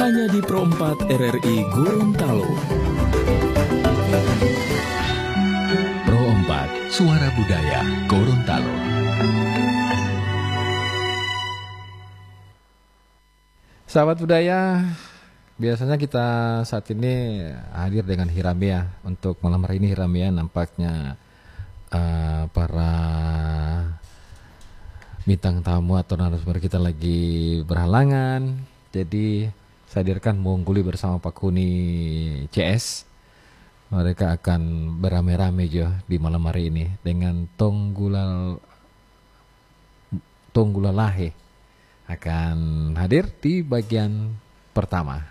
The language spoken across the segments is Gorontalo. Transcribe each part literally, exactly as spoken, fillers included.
Hanya di Pro empat R R I Gorontalo. Pro empat, Suara Budaya Gorontalo. Sahabat budaya, biasanya kita saat ini hadir dengan Hiramea. Untuk malam hari ini, Hiramea, nampaknya, eh, para bintang tamu atau narasumber kita lagi berhalangan. Jadi, saya hadirkan Mongguli bersama Pak Kuni C S. Mereka akan beramai-ramai jo di malam hari ini dengan Tonggulal-, Tonggulalahe akan hadir di bagian pertama.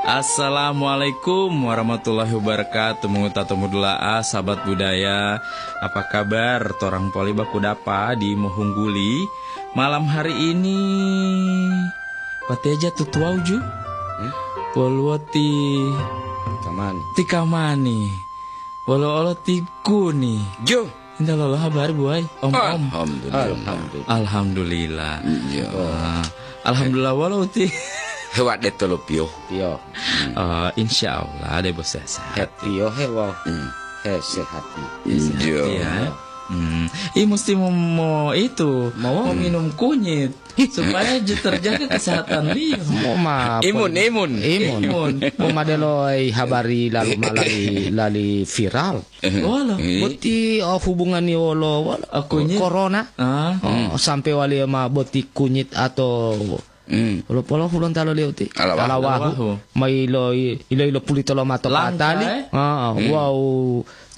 Assalamualaikum warahmatullahi wabarakatuh. Mongowutata modula'a, sahabat budaya. Apa kabar? Torang poli baku dapa di mohungguli malam hari ini. Wateja tutuwau ju. Hmm? Woluwo ti Kamani. Ti Kamani. Wolo olo ti Kuni. Jo. Inta lolo habari, buwai. Om-om. Alhamdulillah. Alhamdulillah. Alhamdulillah. Iya. Ah, alhamdulillah, wolo uti. Hewa de tolo piyo. Piyo. Ah, insya Allah, de bos sehat. Piyo hewa. Hmm. He sehat. Iya. Iya. Hmm. I musti mo, mo itu, mau minum kunyit. Supaya je-, terjaga kesehatanliyo. Mo ma Imun, pon-, imun. Imun. Imun. Mo ma delo ai habari lalu ma lali, lali viral. Wolo. Eh. Boti, oh, hubunganni wolo, wolo. Oh, kunyit. Corona. Ah. Oh, sampai wali ma boti kunyit atau Hmm. Polo-polo hulontalo leuti. Alawahu. Alawahu. Alawahu. Mai ilo, ilo, ilo pulito lo mato Langka, patali. Eh? Ah, hmm. Wau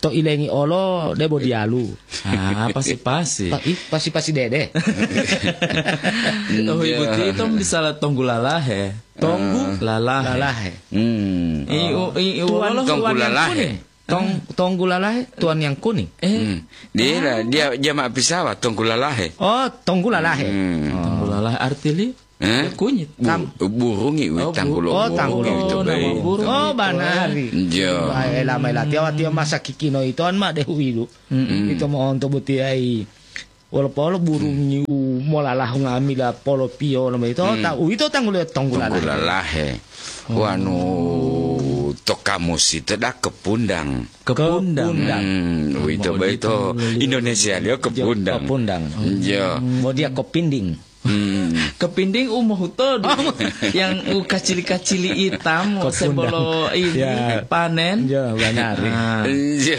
to ilengi olo debo dialu. Ah, pasi-pasi. Pa-, ih, pasi-pasi dede. Oh, ibu ti itu bisa la tonggu lalahe. Tonggu? Ah. Lalahe. Lalahe. Hmm. I, u-, i, i, Tuan wolo tonggu huwan yang lalahe. Kuning. Tong-, ah. Tonggu lalahe, tuan yang kuning. Eh. Hmm. Dia, dia, dia ma pisawat, tonggu lalahe. Oh, tonggu lalahe. Hmm. Oh. Tonggu lalahe arti li? Eh? Kunyit. Bu-, burung i, oh, tanggulo bu-, oh, burung, tanggulo. Itu nama baik. Burung. Oh, itu banari. Jo. Bae lama ilati awati masa kikino itu an ma dehu ilu. Mm-mm. Itu mo onto butiai. Wolo polo burung niu molalahu ngamila polo piyo lama itu. Hmm. Ta-, uwito tanggulo tonggu lalahe. Tonggu lalahe. Oh. Wanu to kamus itu da kepundang. Kepundang. Kepundang. Hmm, uwito baito Indonesia liyo kepundang. Kepundang. Jo. Bo dia kopinding. Hmm. Kepinding u mohutodu. Oh. Yang u kacili-kacili itam, kepundang. Sebolo ini, ya, panen. Ya, benar. Ah. Iya.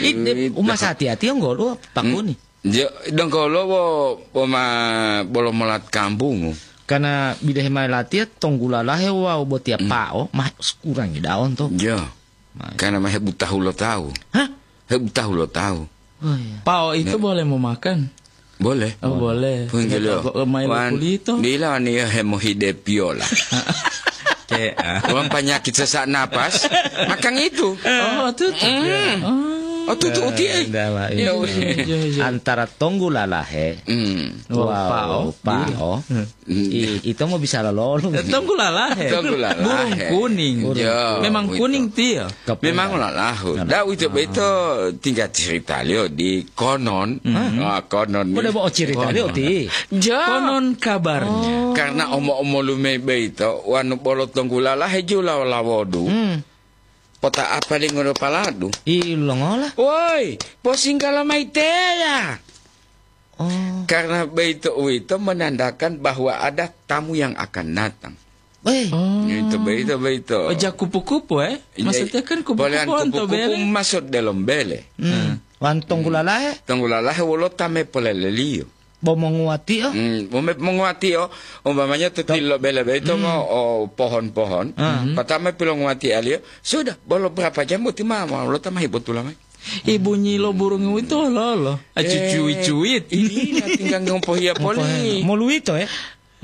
Ide uma sati-ati yang golo, Pak Kuni. Hmm. Iya, dongkolo wo, wo ma-, bolo molat kampung. Karena bidehe ma latiya tonggulalahe wawu botiya pao, ma kurangi daun to. Iya. Karena ma hebutahu lo tawu. Hah? Hebutahu lo tawu. Oh, iya. Pao itu boleh memakan? Boleh. Oh, boleh. Punggil yo. Wan, pulito. Dila ni yo hemohide piola. Wan panyakit sesak napas, makan itu. Oh, tutup. Mm. Oh, tutup uti, eh. Iya, iya, iya. Antara tonggulalahe, mm, wau pao. Pao. Hmm. I-, ito mo bisa lololung. Eh, tonggulalahe. Tonggulalahe. Burung kuning. Burung. Yo, memang kuning tiyo. Memang lalahu. Lalahu. Da uwito boyito tingga ceritaliyo di konon. Hmm. Ah, konon. Bode bo ceritaliyo ti. Jo. Konon kabarnya. Oh. Karena omo-omolume boyito, wanu bolo tonggulalahe jula lawodu. Hmm. Pota apa li ngodo paladu? I longola? Woi, posinggala mayi teya. Oh. Karena boyito uwito menandakan bahwa ada tamu yang akan datang. Eh. Oh. Itu boyito, boyito. Oh, ja kupu-kupu, eh? Iya, maksudnya kan kupu-kupu polean onto kupu-kupu bele. Masuk dalam bele. Hmm. Hmm. Wan tonggulalahe? Tonggulalahe wolo ta me poleleliyo. Bo monguwatio? Hmm, mo me-, monguwatio, umpamanya to tilo bele boyito mo, o, pohon-pohon, patama pilonguwatialiyo, sudah, bolo berapa jam boti ma, ma, lo ta ma hibotula mayi. I bunyi lo burung uwito lolo. A, eh, cucuit-cuit. Iya, tinggal ngopohiya poli. Ngopohiya. Moluwito, ya?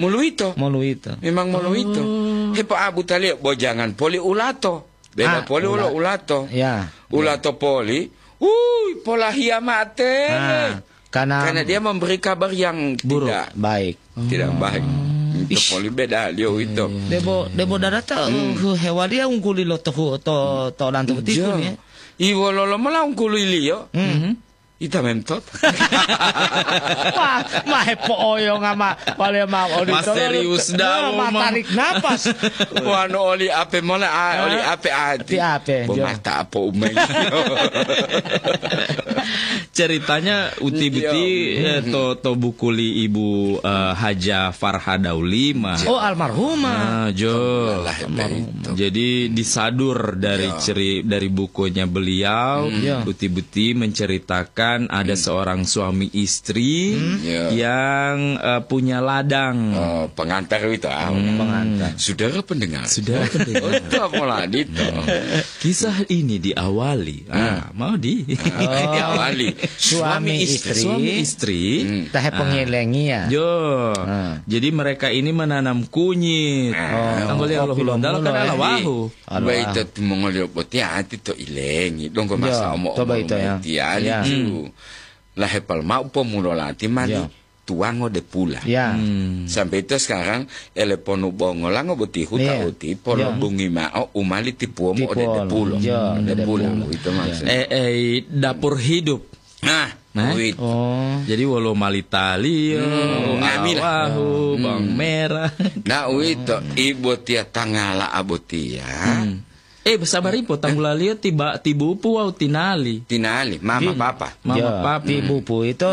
Moluwito. Moluwito. Memang moluwito. Oh. Hepo'abutaliyo, bo jangan poli ulato. Beda poli ulo ula-, ulato. Ya. Ulato poli, wuy, polahiya mate. Ah, karena dia memberi kabar yang buruk. Tidak baik. Tidak baik. Itu poli beda liyo uwito. Iya, iya. Debo, debo darata, uh, hewaliya ungguli lo tohu-, to, to lanto botiku ni, ya. I wololo mola ungkuluiliyo? Hmm. Mhm. Ita memtot. Wah, ma hepo'oyonga ma, wale ma odito. Ma serius da'a, ma ma tarik napas. Wanu oli ape mola, a, oli ape ati. Ti ape, Bo jo. Mata apo umai. Ceritanya uti-uti, eh, to, to buku li Ibu, eh, Haja Farha Daulima. Oh, almarhumah. Ah, jo. Alhamdulillah, almarhumah. Jadi disadur dari ceri-, dari bukunya beliau, uti-uti menceritakan ada seorang suami istri yang, eh, punya ladang. Oh, pengantar itu, ah, pengantar. Saudara pendengar. Saudara pendengar. Oh, itu apa lagi itu? Kisah ini diawali. Ah, mau di. Oh. Diawali. Suami istri. Suami istri. Hmm. Tahe pengelengi ya. Jo. Ah. Jadi mereka ini menanam kunyit. Ah. Tanggal ya Allah, kopi lo Honda kan mulo, eh. Alawahu. Alawahu. Baik, itu mongoliyo boti ati to ilengi. Donggo masa omo-omo itu ya. Tiali ju. Lahepal mau pomulo lati mali. Ya. Tuwango de pula. Ya. Hmm. Sampai itu sekarang, ele ponu bongolango boti huta uti, polo bungi ma'o, umali tipuwomu ode depulo. Ya, depulo. Itu maksudnya. Eh, eh, dapur hidup. Nah, nah. Oh. Jadi wolo malitali, hmm, alawahu, bawang merah. Nah, uwito, ibotiya tangala abotiya. Hmm. Eh, sabar ipo, tanggulaliyo tiba, tibupu wawu tinali. Tinali, mama, papa. Mama, papa. Tibupu itu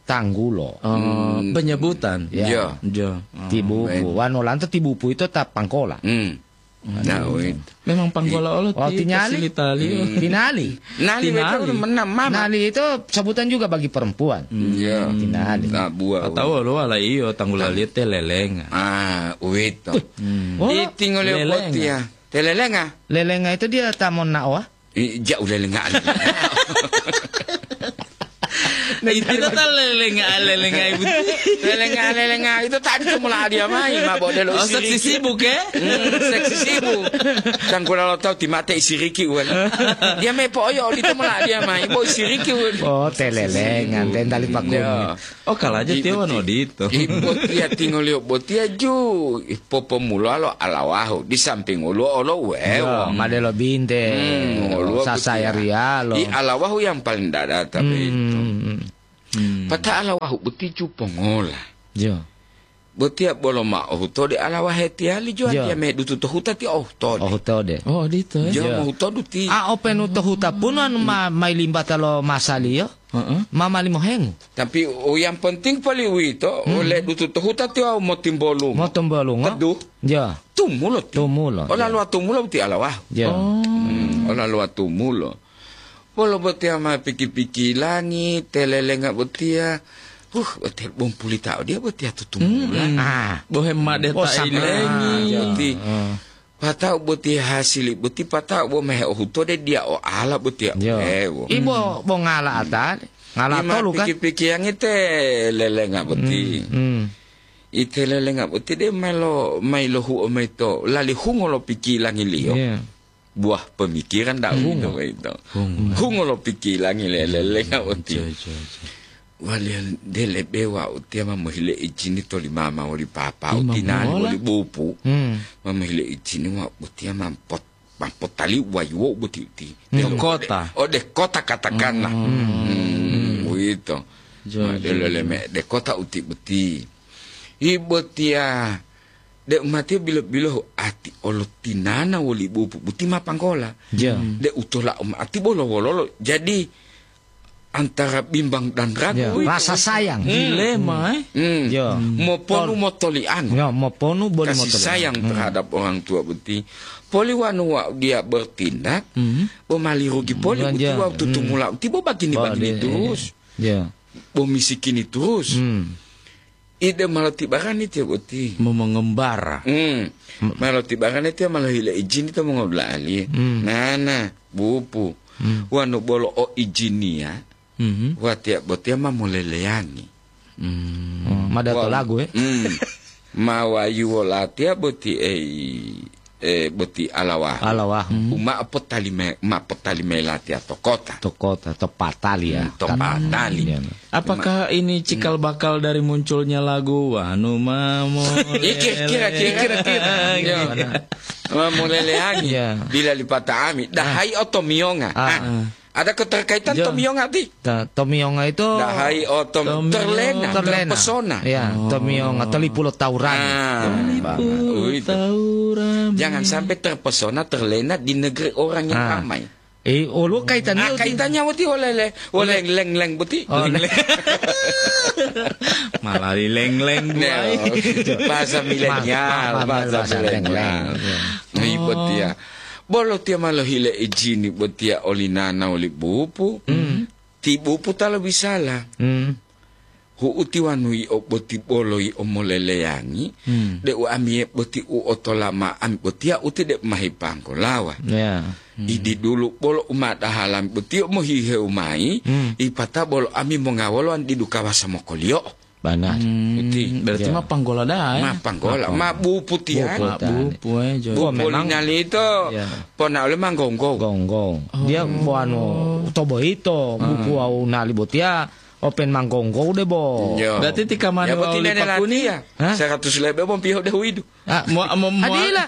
tanggulo. Oh, penyebutan. Ya. Jo. Tibupu. Wanu lanto tibupu itu ta pangkola. Hmm. Nah, wit. Memang pangkola olo ti-, tinali. Tinali. Nali betul, mama. Nali itu sebutan juga bagi perempuan. Iya. Tinali. Nah, buah. Atau lo ala iyo, tanggulaliyo te lelenga. Ah, wit. Hmm. Iti ngole lelenga. Botia. Telelenga. Lelenga itu dia ta monnaowa? I, jauh lelenga. Itu ta lelenga, lelenga ibu. Lelenga, lelenga. Itu tadi tu mula dia mai, ma bo delo. Oh, saksi sibuk, eh? Hmm, seksi sibuk. Sangkula lo tau timate isiriki uwan. Dia me po oyo, itu mula dia mai, bo isiriki uwan. Oh, telelenga, dendali pakuni. Ya. Oh, kalaja tiyo wonu odito. I botiya tingoliyo botiya ju, i popomulalo alawahu, di samping woluwo olo uwewo. Yo, madelo binte, hmm, woluwo sasaya botiya. Riyalo. I alawahu yang paling dadata boyito. Hmm. Pata alawahu boti ju pongola. Yo. Botiya bolo ma'o hutode alawahe tiyali jo. Yo. Antiya medutu to huta ti ohutode. Ohutode. Oh, odito, ya. Jo, mohutodu ti. A openu to huta pun anu ma-, mailimbata lo masaliyo. Heeh. Mama limohengu. Tapi u yang penting poli uwito, hmm, ole dutu to huta tiyo motimbolungo. Motimbolungo. Teduh. Ya. Tumulo ti. Tumulo, ya. Ola luwa tumulo ti alawah. Ya. Oh. Hmm, ola luwa tumulo. Bolo botiya ma piki-pikilangi, telelenga botiya. Huh, botiya bompulita odiya botiya tutumula. Hmm. Ah. Bohe made ta sampai ilengi. Ah, ya. Ti. Ah. Pata'u boti hasili boti pata'u bo mehe ohutode dia o ala boti ya. Yo. Ewo. Ibo bo ngala ata, ngala tolu kan? Piki-pikiyangi te lelenga boti. Hmm, hmm. Ite lelenga boti de mailo, mailo huo maito, lali hungo lo pikilangiliyo. Iya. Buah pemikiran dak hungo maito. Hungo. Hungo lo pikilangi le-, lelenga boti. Iya, iya, iya. Waliya de lebe wau tiya ma mohile ijini toli mama woli papa, tinani woli bupu. Hmm. Ma mohile ijini wau tiya ma pot-, ma potali wayuwo boti uti. Hmm. Ode kota. Ode kota katakanlah. Hmm. Hmm, uwito. Jo, ma jo, delo jo. Leme de kota uti boti. Ibo tiya de umati bilo-bilo ati olo tinana woli bupu buti ma panggola. Jo. De utola umati bolo wololo. Jadi, antara bimbang dan ragu. Ya, itu. Rasa sayang. Hmm. Dilema, eh? Hmm. Ya. Moponu motoli'ango. Ya, moponu boli motoli'ango. Kasih sayang terhadap orang tua boti. Poli wanu wa-, dia bertindak, bo mali rugi poli boti wa tutumula boti bo bagini-bagini terus. Ya. Bo misikini terus. Hmm. Ide malo tibarani tiyo boti. Momongembara. Hmm. Malo tibarani tiyo malo hile ijini to mongodula'aliye. Hmm. Nana, bupu. Hmm. Wanu bolo o ijiniya, watiya botiya ma moleleyangi. Hmm. Oh, ma dato lagu, eh? Hmm. Ma wayuwo latiya boti ei. eh, boti alawahu. Alawahu. Hmm. Uma potali me-, ma potali melati atau kota. To kota, to patali ya. Hmm, to patali. Iya. Apakah ini cikal bakal dari munculnya lagu Wanu Mamo Iya, kira-kira, kira-kira. Iya. Iya. Mamo Leleangi. Iya. Bila lipata ami. Dahai otomiyonga. Ah. Ah. Ada keterkaitan Jo. Tomiyonga ti? Ta-, tomiyonga itu Dahai otom Tomiyonga. Terlena, Terlena. Terpesona. Ya, Oh. Tomiyonga, telipu lo taurani. Ah, Telipu uwito. Taurani. Jangan sampai terpesona, terlena di negeri orang yang Ah. ramai. Eh, olo kaitannya Ah, uti. Kaitannya uti olele, oleng leng leng buti. Oh, Leng, leng. Malah di leng leng Ya, buai. Bahasa milenial, ma-, ma-, bahasa bahasa milenial. Leng leng. Ya. Nah, Oh. Ibu tia. Bolo tia ma lohile ijini botia oli nana oli bupu. Hmm. Ti bupu ta lobisala. Hmm. Hu'u ti wanu yi'o boti bolo yi'o moleleyangi, Hmm. de u amiy'e boti u otola ma ami botia uti de mahipanggolawa. Ya. Hmm. Idi dulu bolo u ma dahalami botiyo mohihewu mayi, Hmm. ipata bolo ami mongawolo an didu kawasa mokoliyo'o. Bana. Hmm, Uti. Berarti Ya. Ma panggola da'a, eh? Ma panggola, ma bupu tiani. Bupu Ma tiani. Bupu, eh, jo. Bupu Oh, memang. Linali ito, Ya. Pona ole manggonggo. Gonggo. Dia Oh. bo anu, to boyito, Ah. Bupu wawu nali botiya, open manggonggo de bo. Yo. Berarti ti kamani Ya, bo wawu tinene lipakuni? Latiya. Hah? Seratus lebe bo piyo de huidu. Ah, mo-, mo-, mo- Adila.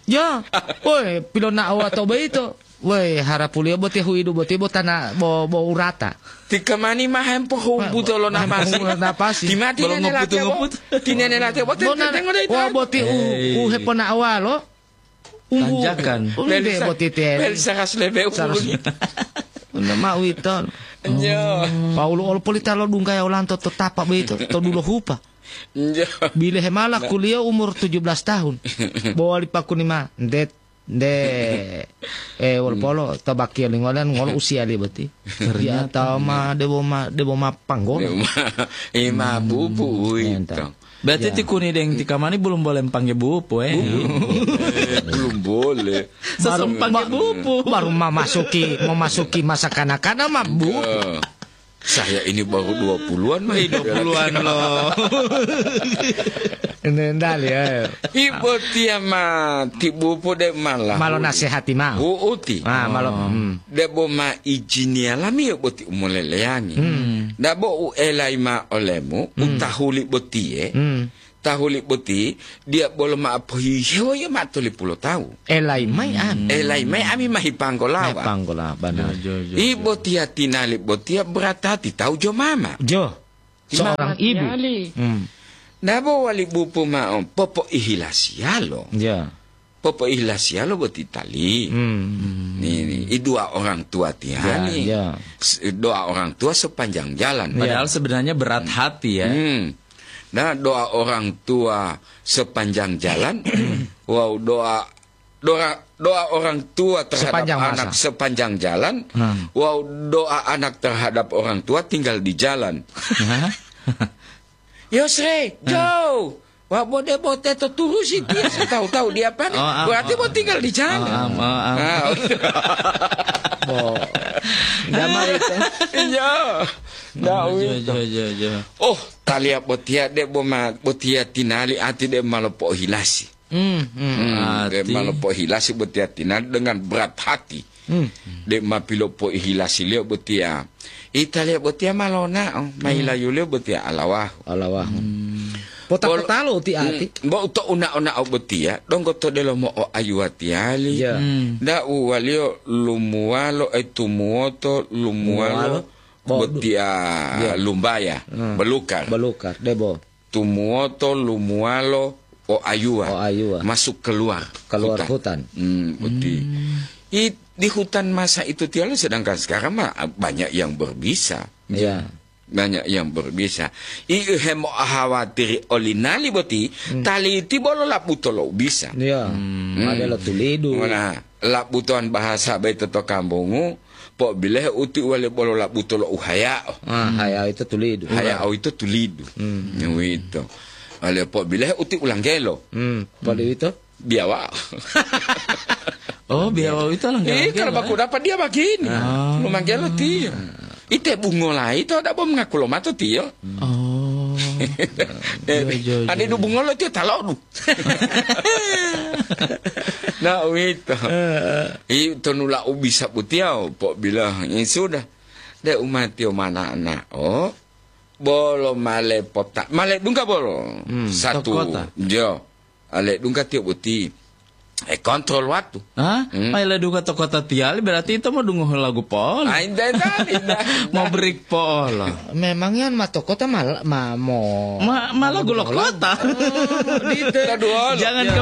Ya. Woi, pilona'o to boyito. Woi, harapuliyo boti huidu boti bo tana bo, bo urata. Ti kamani ma hempohubu Ma-, tolo ma napasi. Hempohubu napasi. Ti mati Belum nene ngoputu, latiya bo. Ngoputu. Ti nene latiya bo, Bona, tengo de wa ita. Boti u, Hei. U hepona'owalo. Umbu, Tanjakan. Umbe Bel sa-, boti te. Bel seratus lebe Seratus. Umbu. Unda ma uwito. Nyo. Paulo olo polita lo dungga ya olanto to tapa boyito, to dulo hupa. Nyo. Bile hemala Nah. Kuliah umur tujuh belas tahun. Bo wali pakuni ma, ndet Nde, eh, wolo polo, to bakiyo lingolan, ngolo usiya li boti. Ternyata. Iya, tawa ma, debo ma, debo ma panggola. Debo ma, eh, ma bubu Hmm, uwito. Enta. Berarti Ya. Ti kuni deng ti kamani belum boleh pangge bupu, eh? Belum boleh. Belum boleh. Sesumpang Baru, ke bupu. Baru memasuki, memasuki masa kanak-kanak, ma bupu. Ya. Saya ini baru dua puluhan, Mas. Eh, dua puluhan loh. Ini ndali, ya. Ibu tia mati, bupu de malah. Malo nasihati ma'o. Hu'uti. Ah, malo, Oh. Hmm. Debo ma ijiniya lami yo boti umoleleyangi. Hmm. Dabo u elai ma olemu, Hmm. Utahuli botiye. Hmm. Tahuli boti, dia bolo ma pohihewo yo ma tolipulo tawu. Elai mai Hmm. Ami. Elai mai ami mahi panggolawa. Mahi panggola, bana. Jo, jo, jo, Ibo jo. Tia tinali botia beratati tawu jo mama. Jo. Seorang Mama ibu. Tiali. Hmm. Nabo wali bupu ma'o popo'ihilasiyalo. Ya. Popo'ihilasiyalo boti tali. Hmm. Ni, ni, i dua orang tua tiani. Ya, ya. S-, doa orang tua sepanjang jalan. Padahal Ya. Sebenarnya berat hati ya. Hmm. Nah, doa orang tua sepanjang jalan, wau doa, doa, doa orang tua terhadap Sepanjang anak masa. Sepanjang jalan, Hmm. Wau doa anak terhadap orang tua tinggal di jalan. Hah? Yosre, Hmm. Joe, wa bode bote to turusi dia, tahu-tahu dia apa? Oh, ah, Berarti oh. Mau tinggal di jalan. Ah, ah, ah, ah. Ah. Bo. Nggak mau itu. Iya. Nggak Oh, jo, itu. Jo, jo, jo. Oh, talia botia de boma, botia tinali ati de malopo hilasi. Hmm, hmm. Hmm, de Ati. Malopo hilasi botia tinali dengan berat hati. Hmm. De ma pilopo hilasi liyo botia. Italia botia malona, oh, ma Hmm. Hilayu liyo botia alawahu. Alawahu. Hmm. Pota-pota lo ti ati. Hmm, bo to una-una o botia, donggo to delomo o ayuwa tiali. Ya. Hmm. Da uwaliyo lumuwalo, eh, tumuwoto, lumuwalo, Muwalo. Bo-, botia ya. Lumbaya, Hmm. Belukar. Belukar, debo. Tumuwoto, lumuwalo, o ayuwa. O ayuwa. Masuk keluar. Keluar hutan. Hutan. Hmm, boti. Hmm. I, di hutan masa itu tialo, sedangkan sekarang mah banyak yang berbisa. Ya. Banyak yang berbisa. I, hemo hawatiri olinali boti, Hmm. Taliti bolo labuto lo bisa. Ya. Hmm. Ada lo tulidu. Nah, labutoan bahasa bayi toto kambungu, po'obilohe uti uwali bolo labuto lo uhaya'o. Ah, haya'o ito tulidu. Haya'o ito tulidu. Hmm. Uwito. Wale po'obilohe uti ulanggelo. Hmm. Poli Hmm. Ito? Biawa. Oh, biawa ito langgelo. Iya, kalau baku dapat dia begini. Ah. Lumanggelo tiyo. Ite bungola ito ada bom ngaku lo mato tiyo. Oh. Eh, jo, jo, ada jo. Du bungolo tiyo talodu. Na uwito. Heeh. I tonula u bisa butiya, po bilang, "Ya sudah. De umatiyo mana ana'o, bolo male pota, male dungga bolo." Hmm, Satu. To kota. Jo. Ale dungga tiyo boti. E kontrol waktu. Hah? Hmm. Mai ledungga to kota tiyali, berarti ito modungohe lagu polo. Ah, indah, indah, indah. Mau break polo. Memangnya ma to kota ma, ma mo Ma, ma lagu lo kota. Oh, gitu. Jangan ke